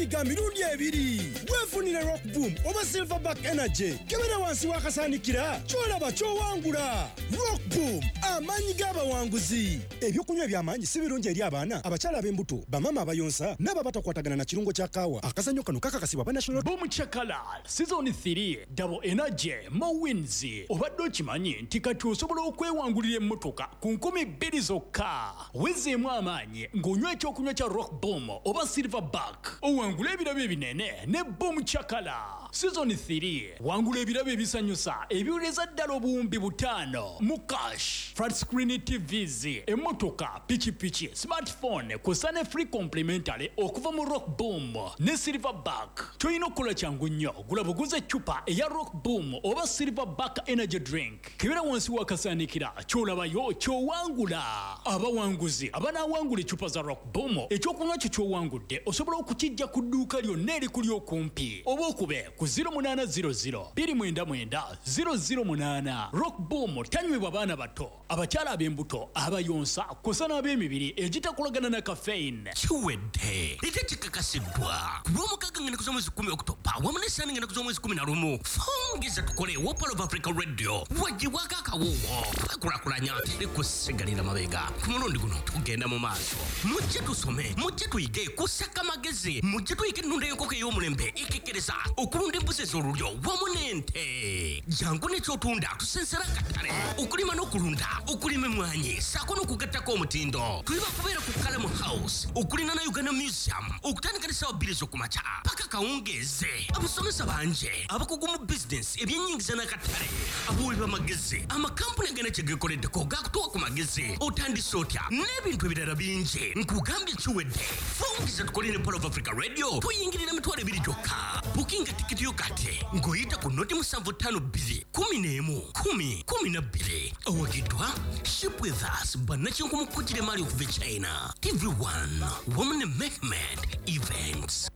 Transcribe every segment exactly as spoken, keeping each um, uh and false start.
Amaanyi ga mirundi ebiri. Weefunire Rock Boom oba Silverback Energy. Kebera wansi w'akasaanikira, ky'olaba ky'owangula. Rock Boom, amaanyi g'abawanguzi. Ebyokunywa eby'amaanyi si birungi eri abaana, abakyala ab'embuto, bamaama abayonsa n'abo abatakwatagana na kirungo kya kaawa. Akazannyo kano kakakasibwa ba National Boom Chakala Season three, Double Energy, More Wins. Obadde okimanyi nti kati osobola okwewangulira emmotoka ku nkumi bbiri zokka? Wezeemu amaanyi ng'onywa ekyokunywa kya Rock Boom oba Silverback, owangula ebirabo ebinene ne Boom Chakala Season three. Wangula ebirabo ebisanyusa ebiwereza ddala obuwumbi butaano mu cash, flat screen T Vs, emmotoka, pikipiki, smartphone, kw'ossa ne free complimentary okuva mu Rock Boom ne Silverback. Kyolina okukola kyangu nnyo: gula buguza eccupa eya Rock Boom oba Silverback Energy Drink, kebera wansi w'akasaanikira, ky'olabayo ky'owangula. Abawanguzi abanaawangula eccupa za Rock Boom, ekyokunywa kyo ky'owangudde osobola okukijja ku dduuka lyonna erikuli okumpi oba okube ku zero munaana zero zero two nine nine zero zero eight. Rock Boom tanywebwa baana bato, abakyala ab'embuto, abayonsa, kw'ossa n'ab'emibiri egitakolagana na caffeine. Kiwedde ate kikakasiddwa ku Lwomukaaga ng'ennaku z'omwezi kumi Okutoba wamu n'Essande ng'ennaku z'omwezi kumi na lumu, Fungiza Tukole wa Pearl of Africa Radio wagibwako akawuwo. Twekulakulanya, teri kusigalira mabega. Ku mulundi guno tugenda mu maaso. Mujje tusome, mujje tuyige kusaka magezi, mujje tuyige ennunda y'enkoko ey'omulembe ekekkereza, okulunda embuzi ez'olulyo wamu n'ente. Jangu n'ekyotunda tusensera akatale, okulima n'okulunda, okulima emwanyi saako n'okugattako omutindo. Tuli bakubeera ku Kalamu House okuliraana Uganda Museum, okutandika ne ssaawa bbiri ez'okumakya paka kawungeeze. Abasomesa bangi abakugu mu bizinesi, ebyenyingiza n'akatale, abawi b'amagezi, amakampuni agana kye geekoleddeko gakutuwa ku magezi, otandise otya n'ebintu ebirala bingi. Nkugambye kiwedde. Fungiza Tukole ne Pearl of Africa Radio tuyingirira emitwalo ebiri gyokka. Bukinga tikiti yo kati ng'oyita ku noti musanvu ttaano bbiri kumi n'emu kumi kumi na bbiri. Owagiddwa Ship With Us, bannakinku mu kugira emaali okuva e China, T V one wamu ne Mehmed Events.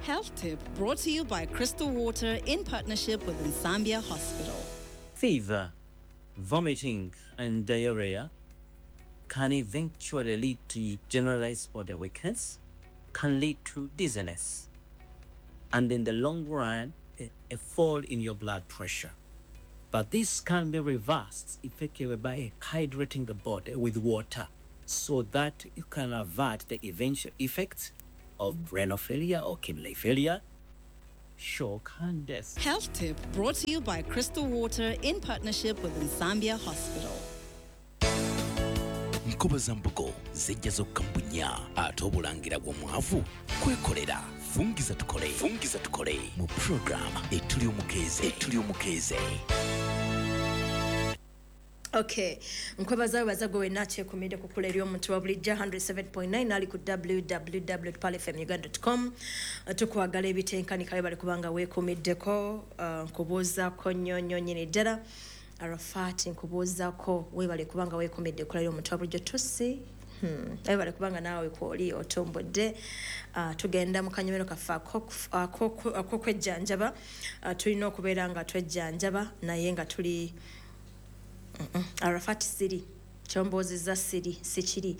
Health Tip brought to you by Crystal Water in partnership with Nsambya Hospital. Fever, vomiting, and diarrhea can eventually lead to generalized body weakness, can lead to dizziness, and in the long run, a, a fall in your blood pressure. But this can be reversed effectively by hydrating the body with water so that you can avert the eventual effects of renal failure or kidney failure, shock, and death. Health Tip brought to you by Crystal Water in partnership with Nsambya Hospital. Nkobazambogo zijja zokka mbunya, ate obulangira bw'omwavu kwekolera. Fungiza Tukole, Fungiza Tukole mu program Etuli Omukeeze, Etuli Omukeeze. Okay, nkwebaza, webaza gwe wenna akyekumidde ku kkula ery'omuntu wa bulijjo one oh seven point nine ali ku W W W palfmuganda com. Tukwagala ebitenkanika. Bali kubanga weekumiddeko. uh, nkubuuzaako nnyo nnyo nnyini ddala. Arafati, nkubuuzaako, weebale kubanga weekumidde ekkula ly'omuntu wa bulijjo. Tusi Hmm. Webale kubanga naawe kwoli otombodde. uh, tugenda mu kanyomero kaffe ak'okwejjanjaba. uh, tulina okubeera nga twejjanjaba naye nga tuli mm -mm. Arafati, siri kyombuuzizza, siri sikiri.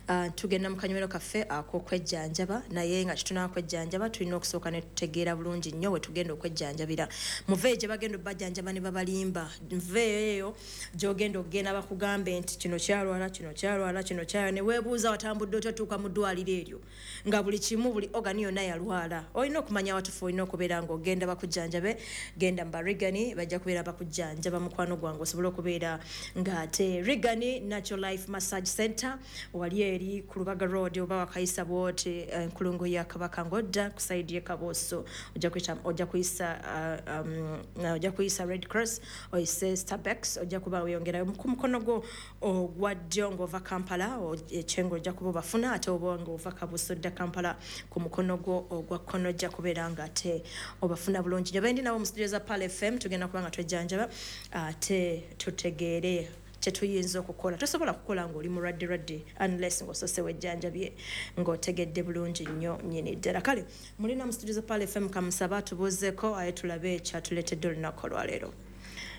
uh, tugenda mu kanyomero kaffe ak'okwejjanjaba, naye nga kitunaa kwejjanjaba tulina okusooka ne tutegeera bulungi nnyo we tugenda okwejjanjabira. Muveeyo gye bagenda obbajjanjaba ne babalimba. Nveeyo eyo gy'ogenda okugenda bakugambe nti kino kyalwala, kino kyalwala, kino kyalwala, ne weebuuza watambudde otya otuuka mu ddwaliro eryo nga buli kimu, buli organ yonna yalwala. Olina okumanya watufu olina okubeera ng'ogenda bakujjanjabe. Genda mu Barigani, bajja kubeera bakujjanjaba, mukwano gwange, osobole okubeera ng'ate Rigani Natural Life Massage Center wali eri ku Lubaga Road, oba wakayisa bwoti enkulungo ya Kabaka ng'odda ku side y'e Kabuusu, ojja kuyita ojja kuyisa uh, um, ojja kuyisa Red Cross, oyise Starbucks, ojja kuba weyongerayo ku mukono gwo ogwa ddyo ng'ova Kampala ekyengo, ojja kuba obafuna. Ate oba ng'ova Kabuusu odda Kampala, ku mukono gwo ogwa kkono ojja kubeera ng'ate obafuna bulungi nnyo. Bendi nabo mu studio za Pearl F M, tugenda kuba nga twejjanjaba ate tutegeere kyetuyinza okukola. Tosobola kukola ng'oli mulwadde lwadde unless ng'osose wejjanjabye ng'otegedde bulungi nnyo nnyini ddala. Kale mulina mu studio za Pearl F M, kamusaba atubuuzeeko aye tulabe ekyatuleetedde olunaku olwaleero.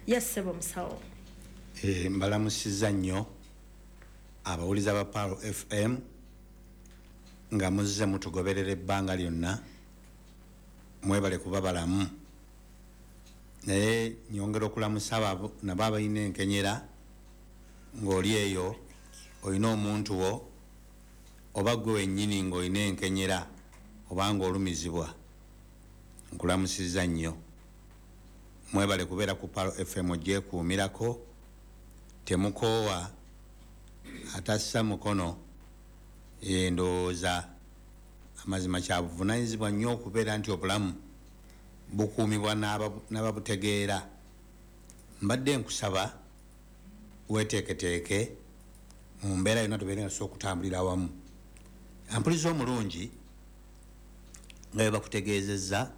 Yes, ssebo musawo. Eh, mbalamusizza nnyo abawuliza ba Pearl F M nga muzze mutugoberera ebbanga lyonna. Mwebale kuba balamu. Naye nyongera okulamusa abo nabo abalina enkenyera ng'oli eyo olina omuntu wo oba gwe wennyini ng'olina enkenyera oba ng'olumizibwa, nkulamusizza nnyo. Mwebale kubeera ku Pearl F M gyekuumirako, temukoowa, atassa mukono. Endowooza amazima kya buvunaanyizibwa nnyo okubeera nti obulamu bukuumibwa n'ababutegeera. Mbadde nkusaba weeteeketeeke mu mbeera yonna tubeere nga tusobola okutambulira awamu. Ampuliza omulungi nga bwe bakutegeezezza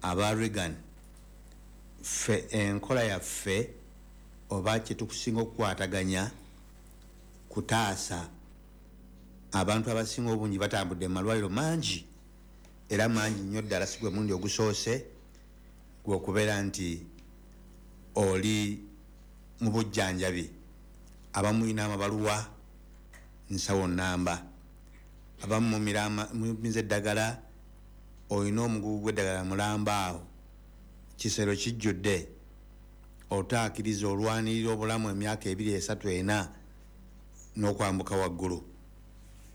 aba Reagan, ffe enkola yaffe oba kye tukusinga okukwataganya kutaasa abantu abasinga obungi batambudde mu malwaliro mangi era mangi nnyo ddala. Si gwe mulundi ogusoose gwe okubeera nti oli mu bujjanjabi. Abamu mulina amabaluwa nsawo nnamba, abamu mumiza eddagala, olina omugugu gw'eddagala mulamba awo, kisero kijjudde, otaakiriza olwanirira obulamu emyaka ebiri esatu ena n'okwambuka waggulu.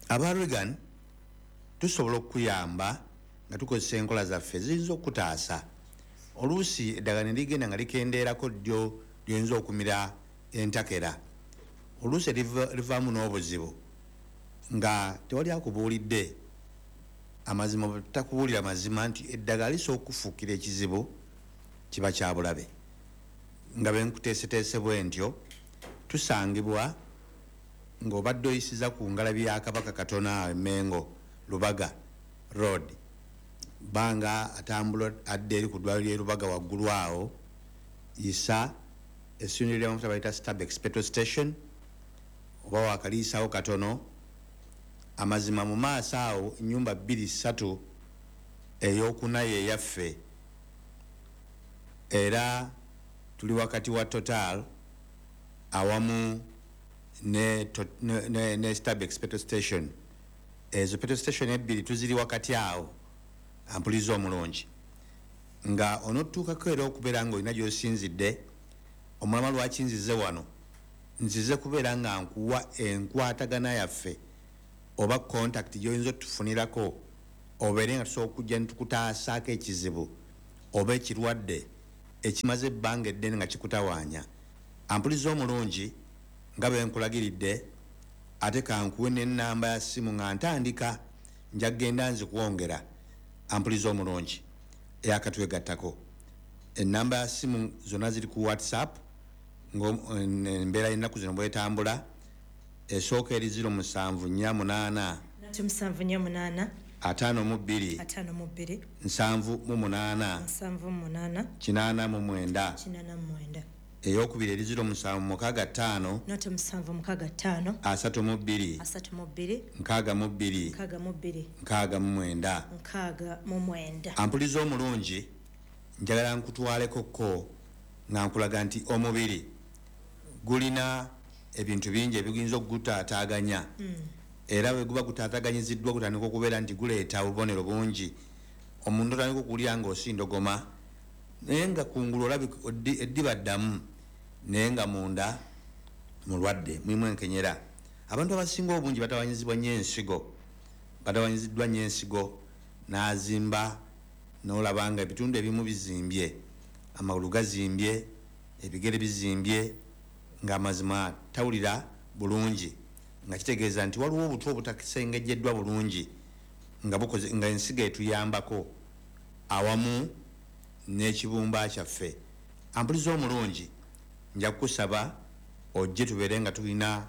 Aba Reagan tusobola okukuyamba nga tukozesa enkola zaffe ziyinza okukutaasa. Oluusi eddagala ne ligenda nga likendeerako ddyo lyoyinza okumira entakera, oluusi livaamu n'obuzibu nga tewali akubuulidde amazima. Takubuulira mazima nti eddagala lisobola okufuukira ekizibu, kiba kya bulabe. Nga bwe nkuteeseteese bwe ntyo, tusangibwa ng'obadde oyisiza ku ngalabi ya Kabaka katono awo e Mengo Lubaga Road, banga atambula adda eri ku ddwaliro ly'e Lubaga waggulu awo, yisa essundiro ly'amafuta bayita Starbex petrol station, oba waakaliisawo katono. Amazima mu maaso awo ennyumba bbiri ssatu, ey'okuna ye yaffe, era tuli wakati wa Total awamu ne, ne, ne, ne Starbex petrol station. Ezo petrol station ebbiri tuziri wakati awo. Ampuliza omulungi nga onootuukako era okubeera ng'olina gy'osinzidde. Omulama lwaki nzize wano? Nzize kubeera nga nkuwa enkwatagana yaffe oba contact gy'oyinza otufunirako, obeere nga tusobola okujja ne tukutaasaako ekizibu oba ekirwadde ekimaze ebbanga eddene nga kikutawaanya. Ampuliza omulungi nga bwe nkulagiridde, ate kankuwe n'ennamba ya ssimu nga ntandika, nja kugenda nzikwongera. Ampuliza omulungi eyakatwegattako, ennamba ya ssimu zonna ziri ku WhatsApp ng'embeera y'ennaku zino bwetambula. Esooka eri ziro musanvu nnya munaana musanvu nnya munaana ataano mu bbiri ataano mu bbiri nsanvu mu munaana nsanvu mu munaana kinaana mu mwenda kinaana mu mwenda. Eyokubiri eri ziro musanvu mukaaga ttaano noto musanvu mukaaga ttaano asatu mu bbiri asatu mu bbiri nkaaga mu bbiri nkaaga mu bbiri nkaaga mu mwenda nkaaga mu mwenda. Ampuliza omulungi, njagala nkutwaleko ko nga nkulaga nti omubiri gulina ebintu bingi ebiyinza okugutaataaganya. Era bwe guba gutaataganyiziddwa gutandika okubeera nti guleeta obubonero bungi. Omuntu otandika okuwulira ng'osindogoma, naye nga kungulu olabika eddiba ddamu, naye nga munda mulwadde, mulimu enkenyera. Abantu abasinga obungi batawanyizibwa nnyo ensigo, batawanyiziddwa nnyo ensigo, n'azimba n'olaba nga ebitundu ebimu bizimbye, amagulu gazimbye, ebigere bizimbye, ng'amazima tawulira bulungi, nga kitegeeza nti waliwo obutwa obutasengejjeddwa bulungi nga bukoze nga ensigo etuyambako awamu n'ekibumba kyaffe. Ampuliza omulungi, nja kukusaba ojje tubeere nga tulina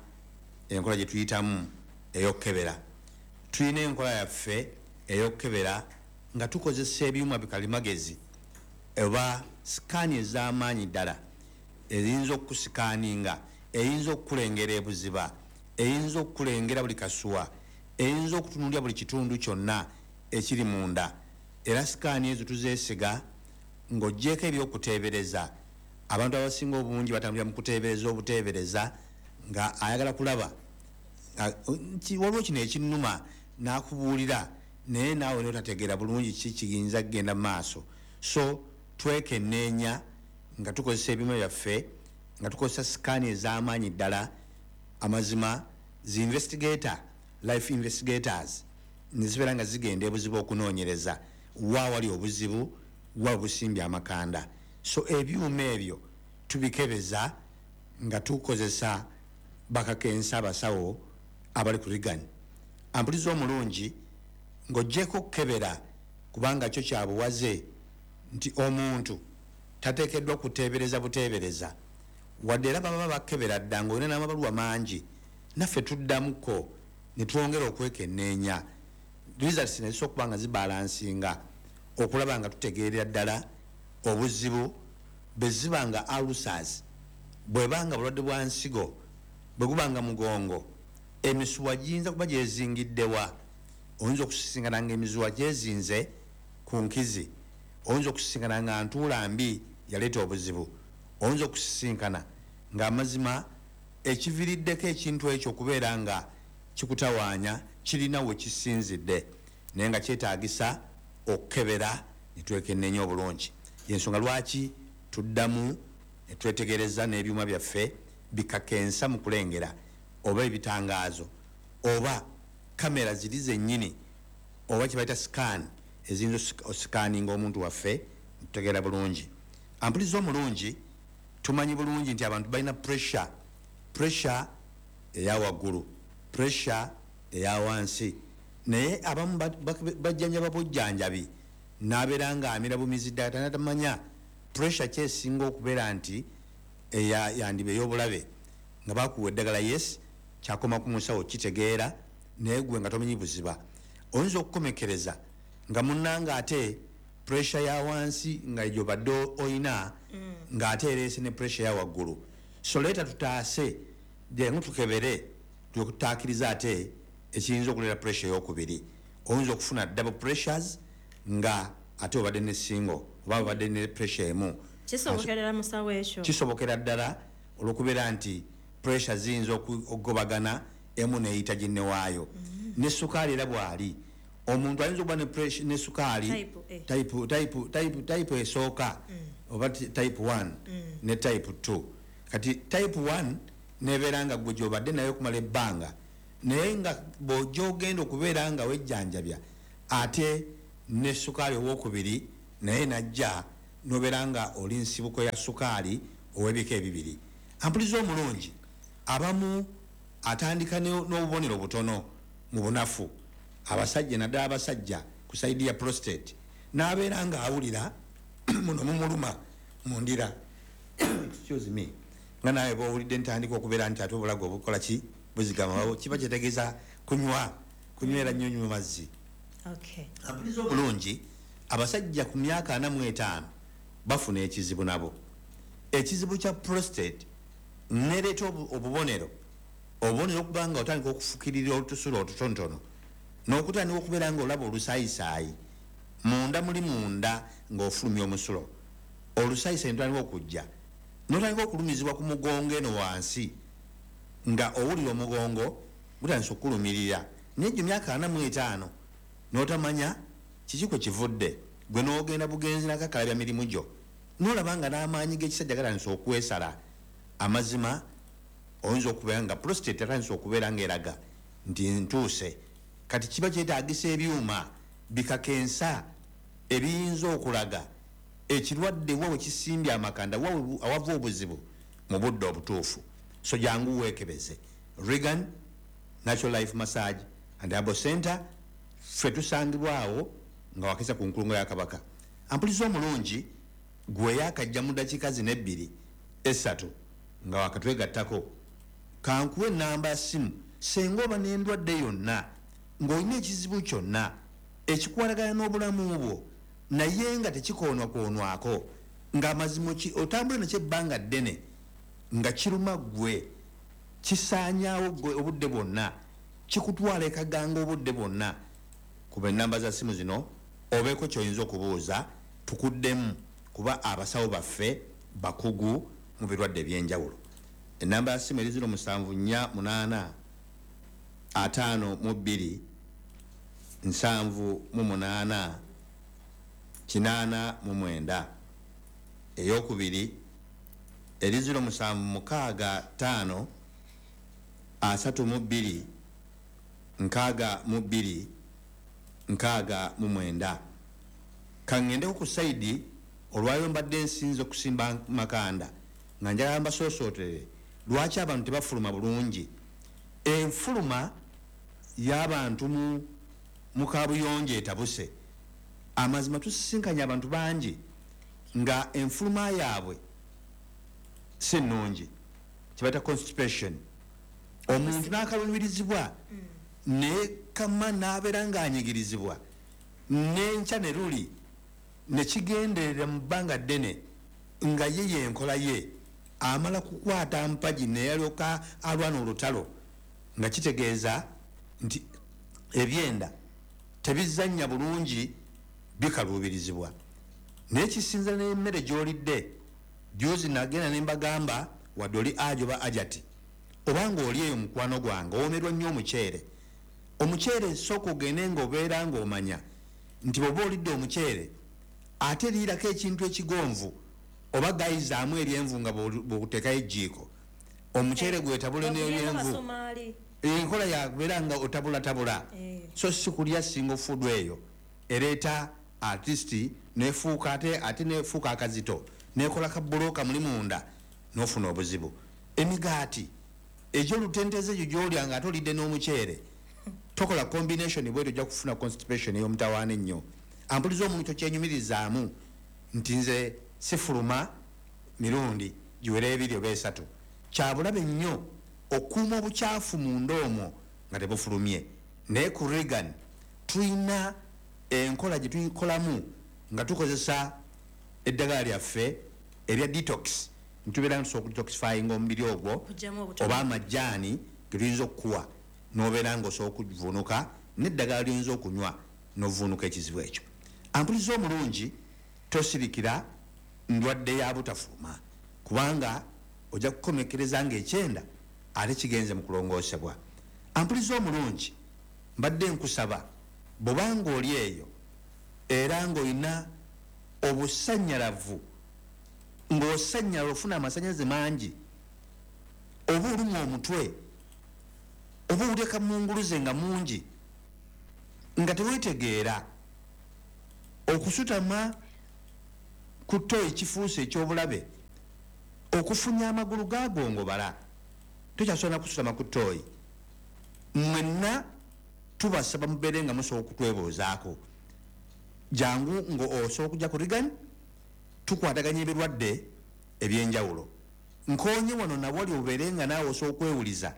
enkola gye tuyitamu ey'okukebera. Tulina enkola yaffe ey'okukebera nga tukozesa ebyuma bikalimagezi oba sikaani ez'amaanyi ddala eyinza okusikaaninga, eyinza okukulengera ebuziba, eyinza okukulengera buli kasuwa, eyinza okutunuulira buli kitundu kyonna ekiri munda. Era sikaani ezo tuzeesiga ng'oggyeko ebyokuteebereza. Abantu abasinga obungi batambulira mu kuteebereza obuteebereza nga ayagala kulaba waliwo kino ekinnuma n'akubuulira, Naye naawe notategeera bulungi ki kiyinza kugenda mu maaso. So twekenneenya nga tukozesa ebyuma byaffe, nga tukozesa sikaani ez'amaanyi ddala. Amazima zi investigator, life investigators, nezibeera nga zigenda ebuzibu okunoonyereza wa wali obuzibu, wa busimbye amakanda. So ebyuma ebyo tubikebeza nga tukozesa bakakensa abasawo abali ku Reagan. Ampuliza omulungi, ng'oggyeko okukebera, kubanga kyo kyabuwaze nti omuntu tateekeddwa kuteebereza buteebereza, wadde era baba bakebera dda ng'olina n'amabaluwa mangi, naffe tuddamuko ne twongera okwekenneenya results ne zisobola okuba nga zibalansinga okulaba nga tutegeerera ddala obuzibu. Bwe ziba nga ulcers, bwebanga bulwadde bwa nsigo, bwe gubanga mugongo, emisuwa giyinza kuba gyezingiddewa. Oyinza okusisinkana nga emisuwa gyezinze ku nkizi, oyinza okusisinkana nga ntuula mbi yaleeta obuzibu, oyinza okusisinkana ng'amazima ekiviiriddeko ekintu ekyo okubeera nga kikutawaanya kirina we kisinzidde, naye nga kyetaagisa okukebera ne twekenneenya obulungi. Yensonga lwaki tuddamu ne twetegereza n'ebyuma byaffe bikakensa mu kulengera, oba ebitangaazo, oba kamera ziri zennyini, oba kye bayita scan eziyinza osikaninga omuntu waffe tutegeera bulungi. Ampuliza omulungi, tumanyi bulungi nti abantu balina pressure, pressure eya waggulu, pressure eya wansi, naye abamu bajjanjaba bujjanjabi n'abeera nga amira bumizi ddala, tatamanya pressure kyesinga okubeera nti yandiba ey'obulabe. Nga bakuwa eddagala, yes, kyakoma ku musawo kitegeera, naye gwe nga tomanyi buziba. Oyinza okukomekereza nga munnanga ate pressure ya wansi nga gy'obadde oyina ng'ate ereese ne pressure ya waggulu. So leeta tutaase, jangu tukebere, tukutaakiriza ate ekiyinza okuleeta pressure ey'okubiri. Oyinza okufuna double pressures nga ate obadde ne single oba obadde ne pressure emu. Kisobokera musawo ekyo? Kisobokera ddala, olw'okubeera nti pressure ziyinza okugobagana emu n'eyita ginne waayo. Ne sukaali era bw'ali, omuntu ayinza okuba ne sukaali type esooka oba type one ne type two. Kati type one nebeera nga gwe gy'obadde naye okumala ebbanga, naye nga bw'ojja ogenda okubeera nga wejjanjabya ate ne sukaali owokubiri naye najja, nobeera nga oli nsibuko ya sukaali ow'ebika ebibiri. Ampuliza omulungi, abamu atandika n'obubonero butono mu bunafu, abasajja naddala abasajja ku sayidi ya prostate, n'abeera nga awulira muno mumuluma mundira, excuse me, nga nawe bw'owulidde ntandika okubeera nti ate obulago obukola ki buzigama, kiba kyetegeeza kunywa kunywera nnyo nywa mazzi. Ampuliza omulungi, abasajja ku myaka ana mu etaano bafuna ekizibu nabo, ekizibu kya prostate nereeta obubonero obubonero okuba nga otandika okufukirira olutusulo otutonotono, n'okutandika okubeera nga olaba olusaayisaayi munda, muli munda ng'ofulumya omusulo, olusaayisaayi notandika okujja, n'otandika okulumizibwa ku mugongo eno wansi, nga owulira omugongo gutandise okukulumirira, naye gyo myaka ana mu etaano n'otamanya kiki kwe kivudde, gwe n'ogenda bugenzi nakakalabya mirimu gyo, n'olaba nga n'amaanyi g'ekisajja gatandise okwesala. Amazima oyinza okubeera nga prostate atandise okubeera ng'eraga nti ntuuse. Kati kiba kyetaagisa ebyuma bikakensa ebiyinza okulaga ekirwadde wa we kisimbye amakanda, wa awava obuzibu mu budde obutuufu. So jangu weekebeze. Reagan Natural Life Massage and Herbal Center, ffe tusangibwawo nga wakisa ku nkulungo ya Kabaka. Ampuliza omulungi, gwe yakajja mu ddakiika zino ebbiri esatu nga wakatwegattako, kankuwe ennamba ya ssimu senga oba n'endwadde yonna ng'olina ekizibu kyonna ekikwatagana n'obulamu bwo, naye nga tekikoonwakoonwako, ng'amazima otambula nakyo ebbanga ddene nga kiruma ggwe, kisaanyaawo ggwe obudde bwonna, kikutwala ekaganga obudde bwonna, kuba ennamba za ssimu zino obeeko ky'oyinza okubuuza tukuddemu, kuba abasawo baffe bakugu mu birwadde ebyenjawulo. Ennamba ya ssimu eri ziro musanvu nnya munaana ataano mu bbiri nsanvu mu munaana kinaana mu mwenda. Eyokubiri eri ziro musanvu mukaaga ttaano asatu mu bbiri nkaaga mu bbiri nkaaga mu mwenda. Kaŋŋendeko ku sayidi olwayo mbadde nsinze okusimba makanda nga njagala mbasoosootere lwaki abantu tebafuluma bulungi. Enfuluma y'abantu mu mu kabuyonjo etabuse. Amazima tusisinkanye abantu bangi nga enfuluma yaabwe si nnungi, kibayita constipation. Omuntu n'akaluubirizibwa ne kama n'abeera ng'anyigirizibwa n'enkya ne luli ne kigenderera mu bbanga ddene nga ye yenkola ye amala kukwata mpagi neyalyoka alwana olutalo, nga kitegeeza nti ebyenda tebizannya bulungi, bikaluubirizibwa. Naye kisinza n'emmere gy'olidde. Juzi nagenda ne mbagamba wadde oli ajo ba ajati obanga oli eyo mukwano gwange owomerwa nnyo omuceere. Omuceere sooka ogende ng'obeera ng'omanya nti bw'oba olidde omuceere ate liirako ekintu ekigonvu oba gayizaamu eryenvu nga bw'oteekayo ejjiiko. Omuceere gwetabule n'eryenvu, enkola yakubeera nga otabulatabula, so si kulya single food eyo ereeta artist nefuuka ate ate nefuuka akazito nekola kabuloka muli munda n'ofuna obuzibu. Emigaati egy'olutenteze egyo gy'olya nga ate olidde n'omuceere, tokola combination bwetyo ojja kufuna constipation ey'omutawaana ennyo. Ampuliza omuntu tokyenyumirizaamu nti nze sifuluma mirundi giwera ebiri oba esatu. Kyabulabe nnyo okuuma obukyafu munda omwo nga tebufulumye. Naye ku Reagan tulina enkola gye tukolamu nga tukozesa eddagala lyaffe erya detox. Ntubeera nga tusobola okudetoxifyinga omubiri ogwo oba amajaani ge tuyinza okukuwa n'obeera ng'osobola okuvuunuka n'eddagala ly'oyinza okunywa n'ovuunuka ekizibu ekyo. Ampuliza omulungi tosirikira ndwadde ya butafuluma, kubanga ojja kukomekereza ng'ekyenda ate kigenze mu kulongoosebwa. Ampuliza omulungi mbadde nkusaba bw'obanga oli eyo era ng'olina obusannyalavu, ng'osannyala ofuna amasannyalaze mangi, oba olumwa omutwe oba owulira kamunguluze nga mungi nga teweetegeera, okusutama ku ttoyi kifuuse eky'obulabe, okufunya amagulu gagongobala, tokyasobola kusutama ku ttooyi. Mwenna tubasaba mubeere nga musobola okutwebuuzaako. Jangu ng'osobola okujja ku Reagan, tukwataganya ebirwadde ebyenjawulo. Nkoonye wano nawali obeere nga naawe osobola okwewuliza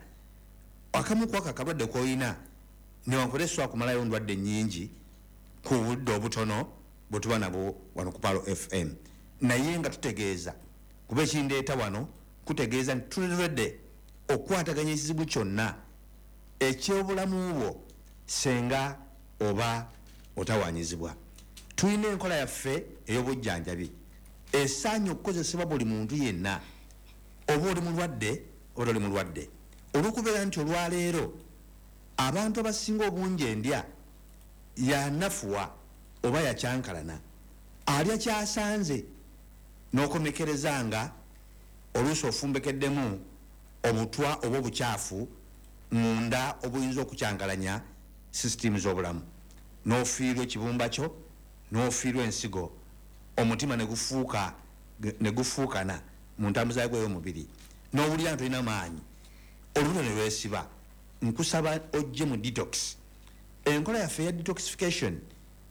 akamu ku ako akalwadde k'olina, newankubadde sobola kumalayo ndwadde nnyingi ku budde obutono bwe tuba nabwo wano ku Palo F M. Naye nga tutegeeza kuba ekindeeta wano kutegeeza nti tulirwedde okukwataganya ekizibu kyonna eky'obulamu bwo senga oba otawaanyizibwa. Tulina enkola yaffe ey'obujjanjabi esaanye okukozesebwa buli muntu yenna, oba oli mulwadde oba toli mulwadde. Olw'okubeera nti olwaleero abantu abasinga obungi endya yanafuwa oba yakyankalana, alya kyasanze n'okomekereza nga oluusi ofumbekeddemu obutwa oba obukyafu munda obuyinza okukyankalanya sisitimu z'obulamu, n'ofiirwa ekibumba kyo, n'ofiirwa ensigo, omutima ne gufuuka ne gufuukana mu ntambuza yagwo ey'omubiri, n'owulira nti tolina maanyi, olubuto ne lwesiba. Nkusaba ojje mu detox. Enkola yaffe eya detoxification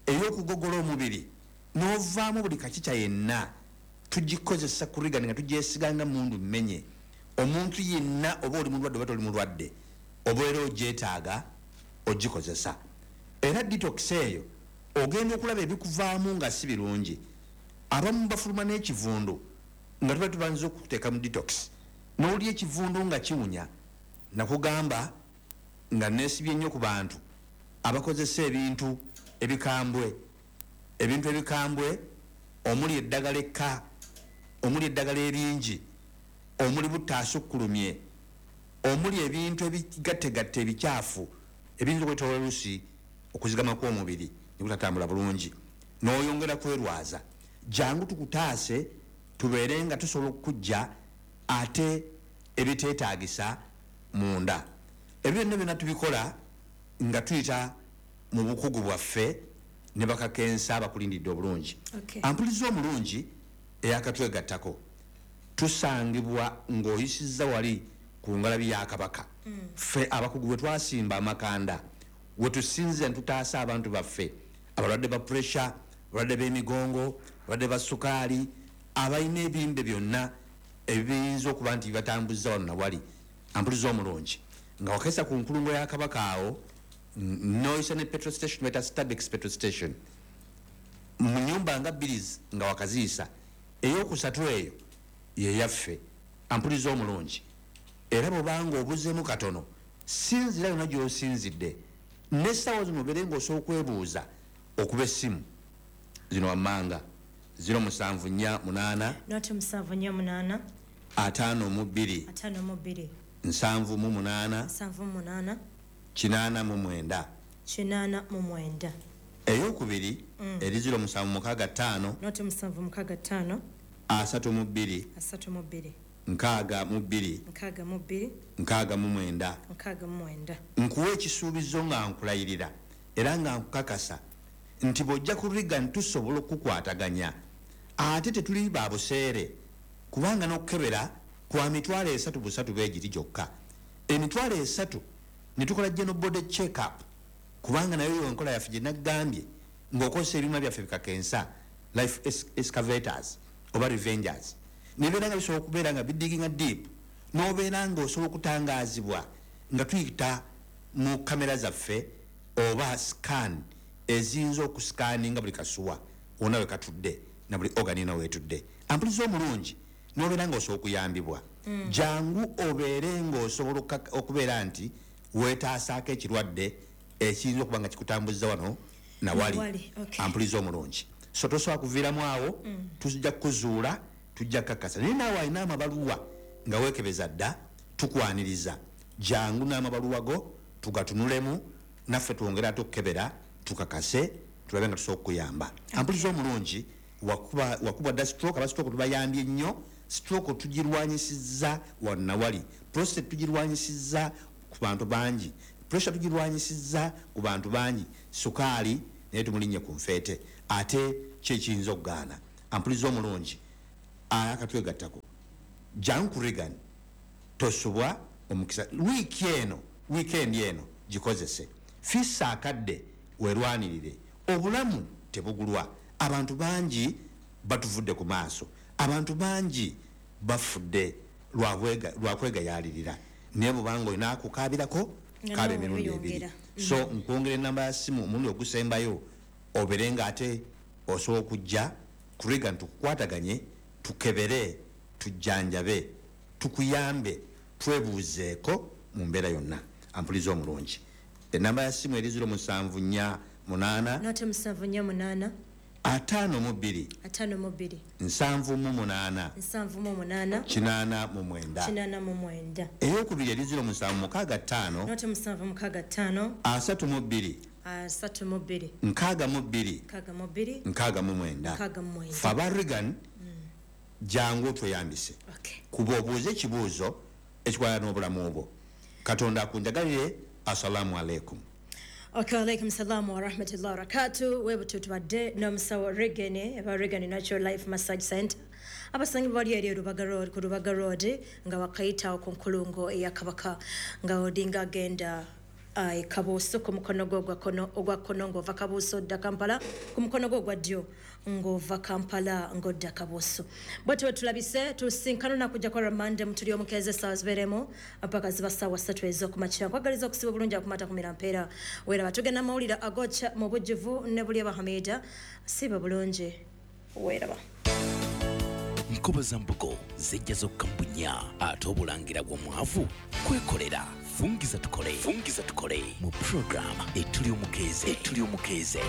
ey'okugogola omubiri n'ovaamu buli kakica yenna tugikozesa ku Reagan nga tugyesiga nga mundu mmenye. Omuntu yenna oba oli mulwadde oba toli mulwadde obeera ogyetaaga ogikozesa. Era detox eyo ogenda okulaba ebikuvaamu nga si birungi. Abamu bafuluma n'ekivundu nga tuba tubanza okuteeka mu detox, n'olya ekivundu nga kiwunya. Nakugamba nga neesibye nnyo ku bantu abakozesa ebintu ebikambwe, ebintu ebikambwe omuli eddagala ekka, omuli eddagala eringi, omuli butaasukkulumye, omuli ebintu ebigattegatte ebikyafu ebiyinza okwetoloola oluusi okuzigama kw'omubiri ne gutatambula bulungi, n'oyongera kwerwaza. Jangu tukutaase, tubeere nga tusobola okukujja ate ebiteetaagisa munda. Ebyo byonna byonna tubikola nga tuyita mu bukugu bwaffe ne bakakensa abakulindidde obulungi. Okay. Ampuliza omulungi eyakatwegattako, tusangibwa ng'oyisizza wali ku ngalabi ya Kabaka. Ffe abakugu bwe twasimba amakanda, we tusinze ne tutaasa abantu baffe abalwadde ba pressure, abalwadde b'emigongo, abalwadde ba sukaali, abalina ebimbe byonna ebiyinza okuba nti bibatambuza wano na wali. Ampuliza omulungi nga wakesa ku nkulungo ya Kabaka awo, n'oyisa ne petrol station bayita Stabex petrol station, mu nyumba nga bbiri nga wakaziisa, eyokusatu eyo yeyaffe. Ampuliza omulungi, era bw'obanga obuzeemu katono, sinzira yonna gy'osinzidde n'essaawa zino obeere ng'osobola okwebuuza okuba essimu zino wammanga ziro musanvu nnya munaana Noti musanvu nnya munaana ataano mu bbiri ataano mu bbiri nsanvu mu munaana nsanvu mu munaana kinaana mu mwenda kinaana mu mwenda. Eyokubiri eri ziro musanvu mukaaga ttaano Noti musanvu mukaaga ttaano asatu mu bbiri asatu mu bbiri nkaaga mu bbiri nkaaga mu bbiri nkaaga mu mwenda. nkaaga mu mwenda. Nkuwa ekisuubizo nga nkulayirira era nga nkukakasa nti bw'ojja ku Reagan tusobola okukwataganya, ate tetuli ba buseere, kubanga n'okukebera kwa mitwalo esatu busatu beegiri gyokka. Emitwalo esatu ne tukola general body check up, kubanga nayo yo enkola yaffe gye naggambye ng'okozesa ebyuma byaffe bikakensa life excavators oba revengers, nebeera nga bisobola okubeera nga bidiginga deep, n'obeera ng'osobola okutangaazibwa nga tuyita mu kamera zaffe oba scan eziyinza okusikaninga buli kasuwa wonna we katudde na buli organ yonna weetudde. Ampuliza omulungi n'obeera ng'osobola okuyambibwa. Jangu obeere ng'osobola okubeera nti weetaasaako ekirwadde ekiyinza okuba nga kikutambuza wano nawali. Ampuliza omulungi, so tosobola kuviiramu awo, tujja kukuzuula, tujja kukakasa. Naye naawe alina amabaluwa nga weekebeza dda, tukwaniriza. Jangu n'amabaluwa go tugatunulemu, naffe twongere ate okukebera tukakase, tulabe nga tusobola okukuyamba. Ampuliza omulungi, wakuba wakuba dda stroke, aba stroke tubayambye nnyo. Stroke tugirwanyisizza wano na wali, prostate tugirwanyisizza ku bantu bangi, pressure tugirwanyisizza ku bantu bangi, sukaali naye tumulinnye ku nfeete, ate ki ekiyinza okugaana. Ampuliza omulungi akatwegattako, jangu ku Reagan, tosubwa omukisa. Wiiki eno, wiikendi eno gikozese, fissa akadde weerwanirire. Obulamu tebugulwa, abantu bangi batuvudde ku maaso, abantu bangi bafudde lwa kwegayaalirira, naye bw'obanga olina akukaabirako kaaba emirundi ebiri. So nkwongera enamba ya ssimu omulundi ogusembayo, obeere nga ate osobola okujja ku Reagan tukukwataganye, tukebere, tujjanjabe, tukuyambe, twebuuzeeko mu mbeera yonna. Ampuliza omulungi, enamba ya ssimu eri ziro musanvu nnya munaana Noti musanvu nnya munaana ataano mu bbiri ataano mu bbiri nsanvu mu munaana nsanvu mu munaana kinaana mu mwenda kinaana mu mwenda. Eyokubiri eri ziro musanvu mukaaga ttaano Noti musanvu mukaaga ttaano asatu mu bbiri asatu mu bbiri nkaaga mu bbiri nkaaga mu bbiri nkaaga mu mwenda. nkaaga mu mwenda. Ffe aba Reagan, jangu otweyambise, kuba obuuze ekibuuzo ekikwata n'obulamu bwo. Katonda akunjagalire. Assalamu alaikum. Okay, alaikum salam wa rahmatullahi wa barakatuh. Webutu tubadde n'omusawo Reagan aba Reagan Natural Life Massage Center abasangibwa bali eri Rubaga Road, ku Rubaga Road nga wakayita ku nkulungo eya Kabaka, nga odinga agenda uh, Kabuuso ku mukono gwo ogwa kkono, ogwa kkono ng'ova Kabuuso odda Kampala, ku mukono gwo ogwa ddyo ng'ova Kampala ng'odda Kabuuso. Bwetyo tulabise tusinkana nakujja kwa Ramande mutuli omukeeze essaawa zibeeremu mpaka ziba ssaawa ssatu ez'okumakya. Nkwagaliza okusiba obulungi akumata kumira mpeera. Weeraba tugenda mawulire agokya mu bujjuvu ne buli Abahamida. Siba bulungi, weeraba. Nkoba za mbugo zijja zokka mu bunnya, ate obulangira bw'omwavu kwekolera. Fungiza tukole, fungiza tukole mu program etuli omukeeze, etuli omukeeze.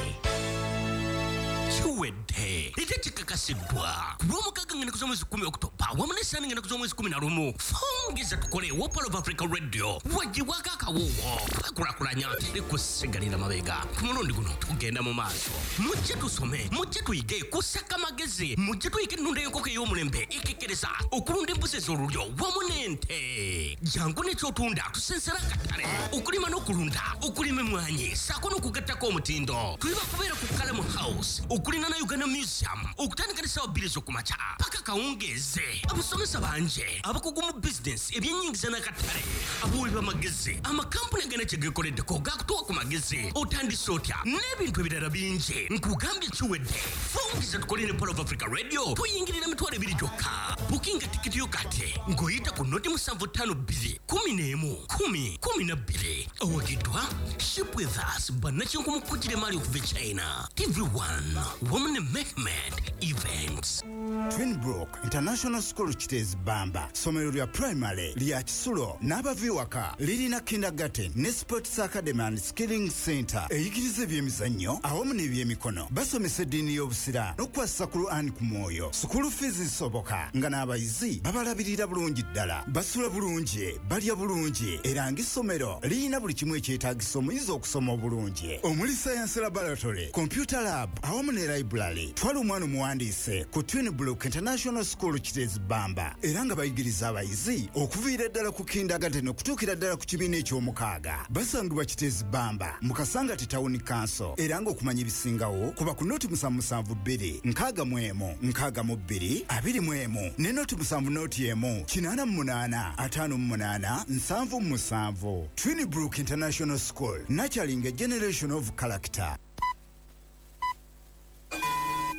Kiwedde. Ate Kikakasiddwa ku lwomukaaga ng'ennaku z'omwezi kumi Okutoba wamu n'essaani ng'ennaku z'omwezi kumi na lumu. Fungiza tukole Wopal of Africa Radio wagibwako akawuwo twekulakulanya teri kusigalira mabega. Ku mulundi guno tugenda mu maaso, mujje tusome, mujje tuyige kusaka magezi, mujje tuyige ennunda y'enkoko ey'omulembe ekekkereza okulunda embuzi ez'olulyo wamu n'ente. Jangu n'ekyotunda tusensera akatale, okulima n'okulunda, okulima emmwanyi ssaako n'okugattako omutindo. Tuli bakubeera ku Kalamu House okulina na Uganda Museum okutandika n'essaawa bbiri ez'okumakya paka kawungeeze. Abasomesa bangi, abakugu mu bizinensi, ebyennyingiza n'akatale, abawi b'amagezi, amakampuni agana kye geekoleddeko gakutuwa ku magezi, otandise otya n'ebintu ebirala bingi. Nkugambye kiwedde. Fungiza tukole ne Pearl of Africa Radio tuyingirira emitwalo ebiri gyokka. Bukinga tikiti yo kati ng'oyita ku noti musanvu ttaano bbiri kumi n'emu kumi kumi na bbiri. Owagiddwa Ship With Us bannakinku kugira emmaali okuva e China, T V one wamu ne Mehmed Events. Twinbrook International School Kiteezi Bamba, ssomero lya primary lya kisulo n'abava ewaka, lirina kindergarten ne sports academy and skilling center eyigiriza ebyemizannyo awamu n'ebyemikono. Basomesa eddiini y'obusiraamu n'okukwasisa Quran ku mwoyo. School fees zisoboka nga n'abayizi babalabirira bulungi ddala, basula bulungi, balya bulungi, era ng'essomero lirina buli kimu ekyetaagisa omuyizi okusoma obulungi, omuli science laboratory, computer lab awamu ne library. Twala omwana omuwandiise ku Twinbrook International School Kiteezi Bamba, era nga bayigiriza abayizi okuviira ddala ku kindergarten okutuukira ddala ku kibiina eky'omukaaga. Basangibwa Kiteezi Bamba mu Kasangati Town Council, era ng'okumanya ebisingawo kuba ku noti musanvu musanvu bbiri nkaaga mu emu nkaaga mu bbiri abiri mu emu ne noti musanvu noti emu kinaana mu munaana ataano mu munaana nsanvu mu musanvu. Twinbrook International School, nurturing a generation of character.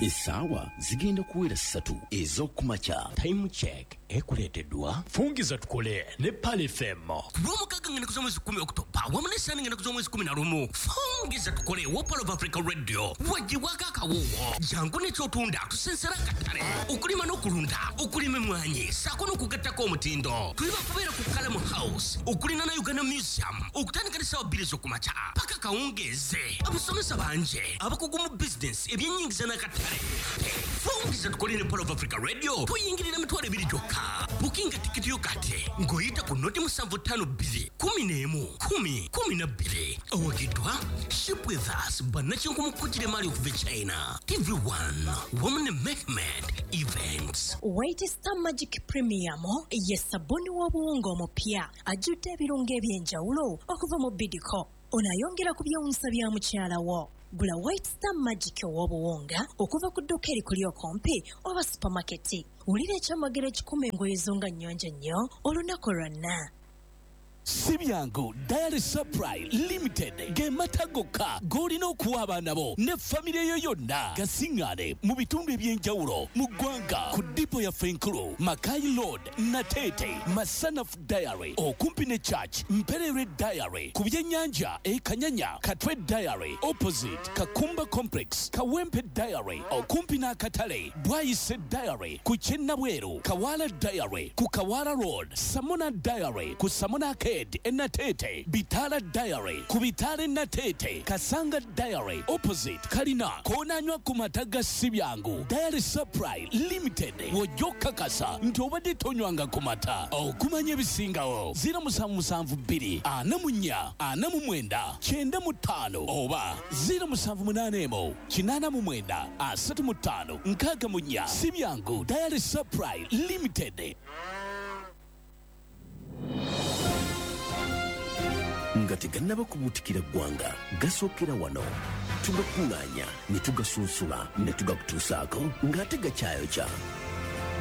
Essaawa zigenda kuwera ssatu ez'okumakya. Time check ekuleeteddwa Fungiza tukole ne Pearl F M. Ku lwomukaaga ng'ennaku z'omwezi kumi Okutoba wamu n'essaani ng'ennaku z'omwezi kumi na lumu. Fungiza tukole Wopal of Africa Radio wagibwako akawuwo. Jangu n'ekyotunda tusensera akatale, okulima n'okulunda, okulima emmwanyi ssaako n'okugattako omutindo. Tuli bakubeera ku Kalamu House okulina na Uganda Museum okutandika n'essaawa bbiri ez'okumakya paka kawungeeze. Abasomesa bangi, abakugu mu bizinensi, ebyennyingiza n'akatale. Fungiza tukole ne Pearl of Africa Radio tuyingirira emitwalo ebiri gyokka. Bukinga tikiti yo kati ng'oyita ku noti musanvu ttaano bbiri kumi n'emu kumi kumi na bbiri. Owagiddwa Ship With Us bannakinku kugira emmaali okuva e China, T V one wamu ne Mehmed Events. White Star Magic Premium ye sabuni w'obuwunga omupya ajjudde ebirungo eby'enjawulo okuva mu Bidco. Ono ayongera ku byewuunyisa bya mukyala wo. Gula White Star Magic ow'obuwunga okuva ku dduuka erikuli okumpi oba supamaketi. Wulira ekyamagero ekikuma engoye zo nga nnyonjo nnyo olunaku lwonna. Si byangu Diary Supply Limited ge mata gokka g'olina okuwa abaana bo ne famire yo yonna. Gasiŋŋaane mu bitundu eby'enjawulo mu ggwanga ku dipo yaffe enkulu Makai Road, Nateete, Masanaf Diary okumpi ne Church, Mperere Diary ku byennyanja e Kanyanya, Katwe Diary opposite Kakumba Complex, Kawempe Diary okumpi n'akatale, Bwayise Diary ku Kyennabweru, Kawala Diary ku Kawala Road, Samona Diary ku Samona K Enatete, Bitala Diary ku Bitale Natete, Kasanga Diary opposite Kalina konanywa ku mata ga si byangu. Diary Supply Limited wojja kakasa nti obadde tonywanga ku mata. Okumanya ebisingawo ziro musanvu musanvu bbiri ana mu nnya ana mu mwenda kyenda mu ttaano oba ziro musanvu munaana emu kinaana mu mwenda asatu mu ttaano nkaaga mu nnya. Si byangu Diary Supply Limited. Nga tegannaba kubuutikira ggwanga, gasookera wano tugakuŋŋaanya ne tugasunsula ne tugakutuusaako ng'ate gakyayokya.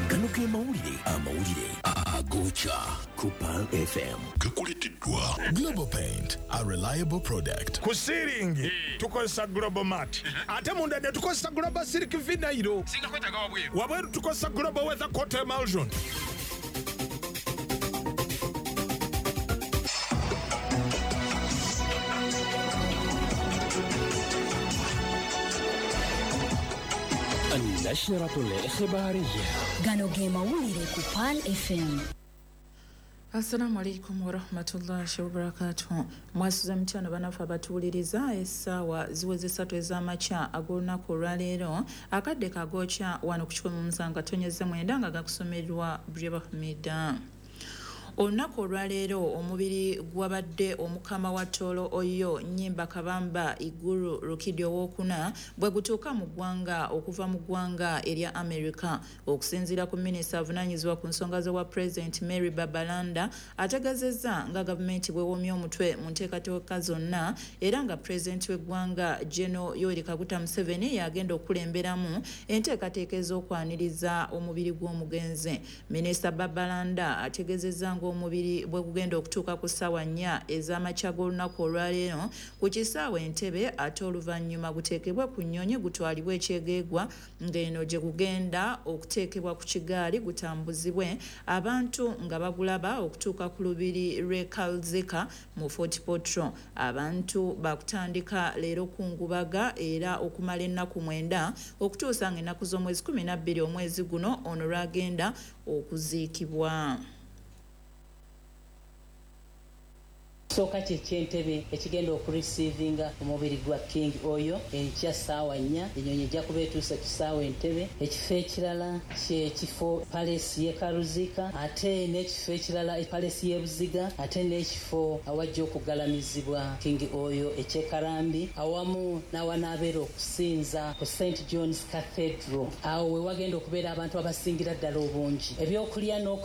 Gano ge mawulire, amawulire agokya ku Pearl F M. Gakuleeteddwa Global Paint, a reliable product. Ku siiringi tukozesa Global Mat, ate munda ne tukozesa Global Silk Vinyl. Wabweru tukozesa Global Weather Coat Emulsion. النشرة الإخبارية. Gano ge mawulire ku Pearl F M. Assalamu alaikum warahmatullahi wabarakatuh. Mwasuze mutya bannaffe abatuwuliriza, essaawa ziweze ssatu ez'amakya ag'olunaku olwaleero, akadde kagookya wano ku kikumi mu musanvu katonyeze mwenda nga gakusomerwa Breba Hamida. Olunaku olwaleero omubiri gwabadde omukama wa Tooro Oyo Nyimba Kabamba Iguru Rukidi owokuna bwe gutuuka mu ggwanga okuva mu ggwanga erya America. Okusinziira ku minisita avunaanyizibwa ku nsonga z'obwa President Mary Babalanda, ategeezezza nga gavumenti bw'ewomye omutwe mu nteekateeka zonna, era nga pulezidenti w'eggwanga General Yoweri Kaguta Museveni yagenda okukulemberamu enteekateeka ez'okwaniriza omubiri gw'omugenzi. Minisita Babalanda ategeezezza ng'omubiri bwe gugenda okutuuka ku ssaawa nnya ez'amakya g'olunaku olwaleero ku kisaawe Entebbe, ate oluvannyuma guteekebwe ku nnyonyi gutwalibwe Ekyegeegwa, ng'eno gye gugenda okuteekebwa ku kigaali gutambuzibwe abantu nga bagulaba okutuuka ku lubiri lw'e Kalzika mu Fort Portal. Abantu bakutandika leero kungubaga era okumala ennaku mwenda okutuusa ng'ennaku z'omwezi kumi na bbiri omwezi guno ono lwagenda okuziikibwa. Kisooka kye ky'Entebe ekigenda okureceivinga omubiri gwa King Oyo enkya ssaawa nnya, ennyonyi ejja kuba etuuse ku ssaawa Entebe. Ekifo ekirala kyekifo palace y'e Karuzika, ate n'ekifo ekirala palace y'e Buziga, ate n'ekifo awajja okugalamizibwa King Oyo eky'e Karambi, awamu n'awanaabeera okusinza ku Saint John's Cathedral. Awo we wagenda okubeera abantu abasingira ddala obungi, ebyokulya n'okunywa.